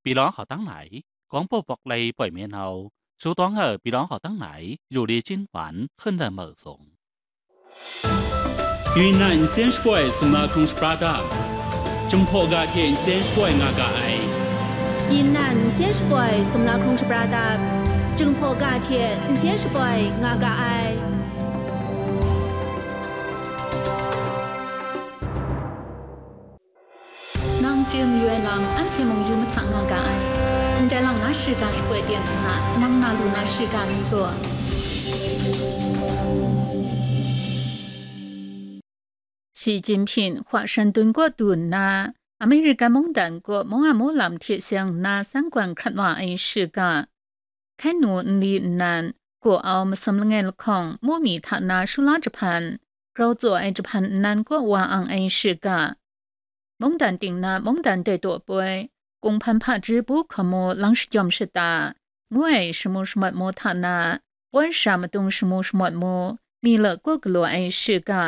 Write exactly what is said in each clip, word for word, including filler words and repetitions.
ပြည်လောင်းဟောက်တန်းနိုင် ကောင်းပုပ်ပွက်လီပွိုင်မဲနှောင်း ဆူတောင်းဟပ် ပြည်လောင်းဟောက်တန်းနိုင် ယူလီချင်းပန် ခင်းတံမုတ်ဆုံး။ 云南先是怪什么空是巴达，正破嘎铁先是怪nga ga ai。云南先是怪什么空是巴达，正破嘎铁先是怪 nga ga ai。 Nang chye mayu ai lam anhte mung yu mahta nga ga ai. Ndai lang na shiga shakoi ten nna, nang na lu na shiga mi gaw. Shi Jinping hwa shan dun kaw du nna, American mungdan kaw mung a mu lam hte seng nna san gwan hkrat wa ai shiga. Hkai nu nli nnan, gaw au masum langai lahkawng mu mi hta na shu la jahpan, grau tsaw ai jahpan nnan kaw wa ang ai shiga. Mungdan ting na mungdan dai taw poi, kunghpan hpaji bu hkamu lang shajawm shata, ngu ai shamu shamawt mu hta na, poi sha madung shamu shamawt mu, mi la kaw galaw ai shiga.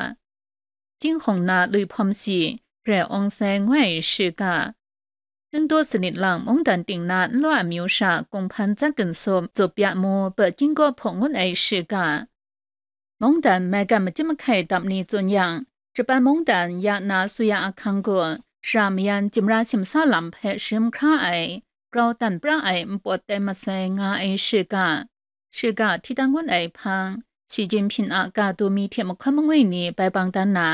Jinghkawng na lui hpawm si, rai awng sai ngu ai shiga. Ningdaw sanit lang mungdan ting na nlaw amyu sha kunghpan tsat ginsup, zup ya mu, pa chyinggaw hpaw ngut ai shiga. Mungdan maigan machyim mahkai dap ni tsun yang, Japan mungdan ya na suya ahkang gaw, shara mayan jimra shimsa lam hpe sharim hkra ai, grau dan pra ai npawt tai masai nga ai shiga. Shiga hti dan ngun ai hpang, Shi Jinping a ga du mi hte mahkawn mangwi ni bai bang dan na,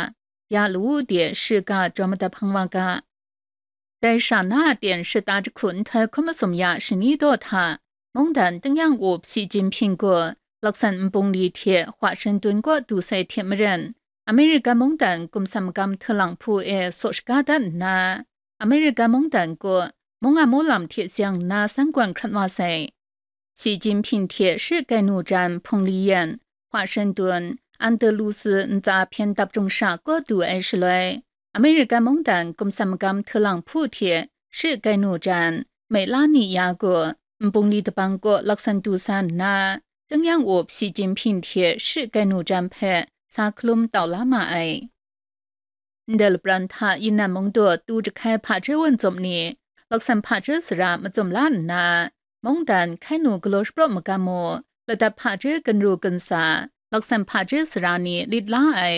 ya lawu de shiga jaw madat hpang wa ga. Dai sha na a ten shata jahku nhtoi hkun masum ya shani daw hta, mungdan tingnyang up Shi Jinping gaw laksan nbung li hte hwa shan dun kaw du sai hte maren, American mungdan gumsam magam htalang hpu e saw shaga dat nna, American mungdan gaw mung a mu lam hte seng nna san gwan hkrat wa sai. Shi Jinping hte shi kai nu jan hpung li yan, hwa shan dun, Andalusi ntsa hpyen dap jung sha kaw du ai shaloi, American mungdan gumsam magam htalang hpu hte shi kai nu jan, mei la ni ya gaw, nbung li dabang kaw laksan du sa nna, tingnyang up Shi Jinping hte shi kai nu jan hpe sa hkalum tau la ma ai. Ndai lapran hta Yinnan mungdaw tu jahkai hpaji wun tsum ni, laksan hpaji sara matsum la nna, mungdan hkai nu galaw shapraw magam mu, ladat hpaji ginru ginsa, laksan hpaji sara ni lit la ai,